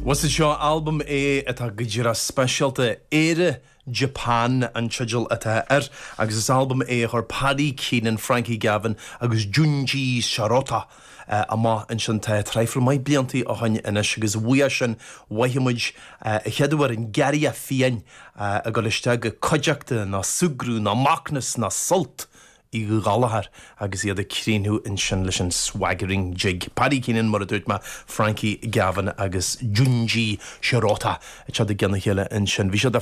Bhuel is seo albam é atá go díreach speisialta. Éire Japan an teideal atá air agus is albam é a chuir Paddy Keenan, Frankie Gavin agus Junji Shirota amach ansin tá traidhfil maith bliantaí ó shoin anois agus uaidh sin mhothaigh muid an chéad uair an Garraidhe Fiáin ag dul isteach go cuideachta ná súgradh ná macnas ná sult Uí Ghallchóir agus iad ag críochnú ansin leis an Swaggering Jig. Paddy Keenan, mar a dúirt mé, Frankie Gavin agus Junji Shirota ag teacht i gcionn a chéile ansin. Bhí siad ar.